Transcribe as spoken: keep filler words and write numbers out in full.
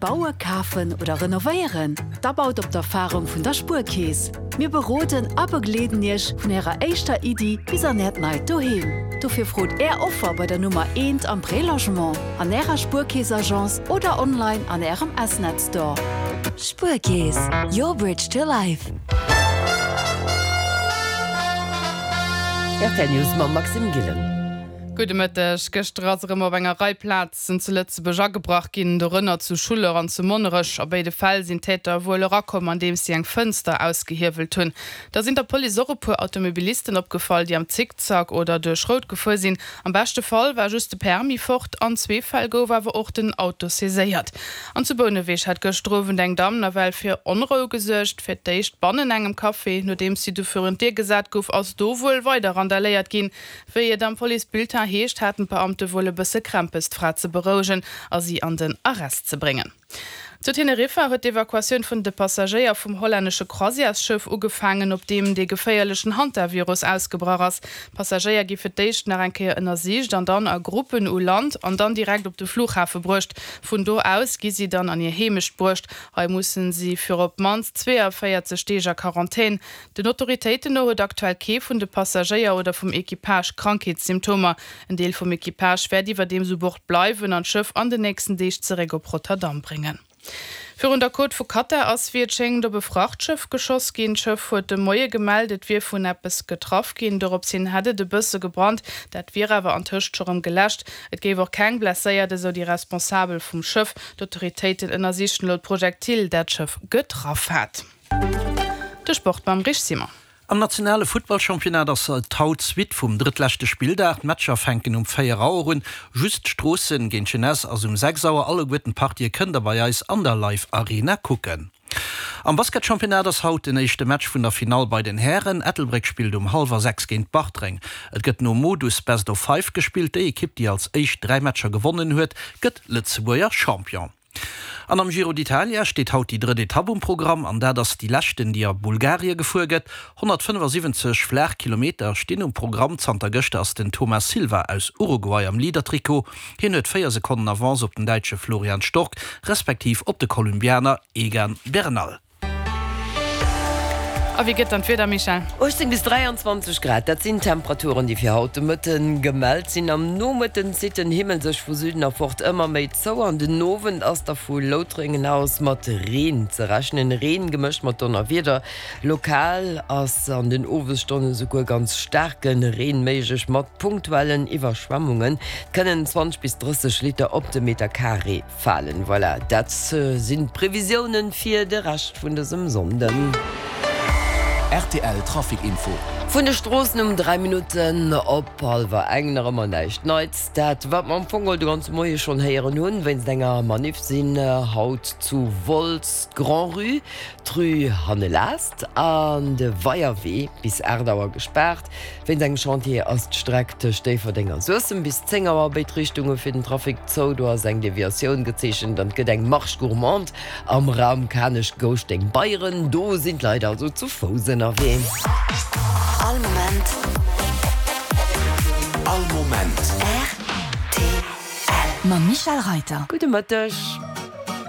Baue, kafen oder renovéieren? Da baut op d'Erfarung vun der Spuerkeess. Mir beroden a begleeden Iech vun Ärer éischter Iddi bis an Äert neit Doheem. Dofir frot Är Offer bei der Nummer eent am Prélogement, an Ärer Spuerkeess-Agence oder online an Ärem S-Net Store. Spuerkeess, your bridge to life. R T L News mam Maxime Gillen. Gudde Mëtteg. Gëschter ass erëm op enger Rei Plazen zu Lëtzebuerg agebrach ginn, dorënner zu Schuller an zu Monnerech. A béide Fäll sinn d'Täter wuel erakomm, andeems si eng Fënster ausgehiewelt hunn. Da sinn der Police och e puer Automobilisten opgefall, déi am Zickzack oder duerch Rout gefuer sinn. Am beschte Fall war just de Permis fort, an zwee Fäll gouf awer och den Auto saiséiert. An zu Bouneweg hat gëschter Owend eng Damm nawell fir Onrou gesuergt. Fir d'éischt bannen engem Café, nodeems si du virun d'Dier gesat gouf, ass do wuel weider randaléiert ginn. Wéi et am Policebulletin heescht, haten d'Beamte wuel e bësse Krämpes, d'Fra ze berouegen a si an den Arrest ze bréngen. Zu Teneriffa huet d'Evakuatioun vun de Passagéier vum hollännesche Croisièresschëff ugefaangen, op deem dee geféierlechen Hantavirus ausgebrach ass. D'Passagéier gi fir d'éischt nach eng Kéier ënnersicht an dann a Gruppen u Land an dann direkt op de Flughafe bruecht. Vun do aus gi si dann an hir Heemecht bruecht. Hei mussen si fir op d'mannst zweeënvéierzeg Deeg a Quarantän. Den Autoritéiten no huet aktuell kee vun de Passagéier oder vum Equipage Krankheetssymptomer. En Deel vum Equipage wäert iwwerdeems u Bord bleiwen an d'Schëff an den nächsten Deeg zeréck op Rotterdam bréngen. Virun der Côte vu Katar ass, wéi et schéngt, op e Frachtschëff geschoss ginn. D'Schëff huet de Moie gemellt, et wier vun eppes getraff ginn. Doropshin hätt et e bësse gebrannt, dat wier awer antëscht scho rëm geläscht. Et géif och keng Blesséiert, esou déi Responsabel vum Schëff. D'Autoritéiten ënnersichen elo d'Projektil, dat d'Schëff getraff hat. De Sport mam Rich Simon. Am nationale Futtballchampionnat ass et haut d'Suite vum drëttleschte Spilldag. D'Matcher fänken um véier Auer un. Just Stroossen géint Jeunesse ass um sechs Auer. Alleguerten d'Partië kënnt der bei eis an der Live Arena kucken. Am Basketchampionnat ass haut den éischte Match vun der Finall bei den Hären. Ettelbréck spillt um hallwer sechs géint Bartreng. Et gëtt nom Modus Best of Five gespillt. Déi Ekipp, déi als éischt dräi Matcher gewonnen huet, gëtt Lëtzebuerger Champion. An am Giro d'Italia steet haut déi drëtt Etapp um Programm an dat ass déi leschten, déi a Bulgarie gefuer gëtt. honnertfënnefasiwwenzeg flaach Kilometer stinn um Programm. Zanter gëschter ass den Thomas Silva aus Uruguay am Leader-Trikot. Hien huet véier Sekonnen Avance op den Däitsche Florian Stork, respektiv op de Kolumbianer Egan Bernal. A wéi gëtt dann d'Wieder, Michèle? uechtzéng bis dräianzwanzeg Grad, dat sinn d'Temperaturen, déi fir haut de Mëtte gemellt sinn. Am Nomëtten zitt den Himmel sech vu Süden erfort ëmmer méi zou an den Owend ass da vu Loutrengen aus mat Reen ze rechnen, Reen gemëscht mat Donnerwieder. Lokal ass an den Owesstonne souguer ganz staarke Reen méiglech mat punktuellen Iwwerschwemmungen. Et kënnen zwanzeg bis drësseg Liter op de Meter Carré falen. Voilà, dat sinn d'Previsiounen fir de Rescht vun dësem Sonnden. R T L Trafic Info. Vun de Stroossen um dräi Minutten op hallwer eng nach ëmmer näischt Neits. Dat wat mer am Fong geholl de ganze Moie schonn héieren hunn, wéinst enger Maniff sinn haut zu Wolz d'Grand-Rue, d'Rue Hannelast an de Weierwee bis aacht Auer gespaart. Wéinst engem Chantier ass d'Streck tëscht Déifferdeng a Suessem bis zéng Auer a béid Richtunge fir den Trafic zou. Do ass eng Deviatioun gezeechent an et gëtt eng Marche gourmande am Raum Kanech-Gouschteng-Beyren. Do sinn d'Leit also zu Fouss ënnerwee. All Moment. All Moment. R T L. Mam Michèle Reiter. Gudde Mëtteg.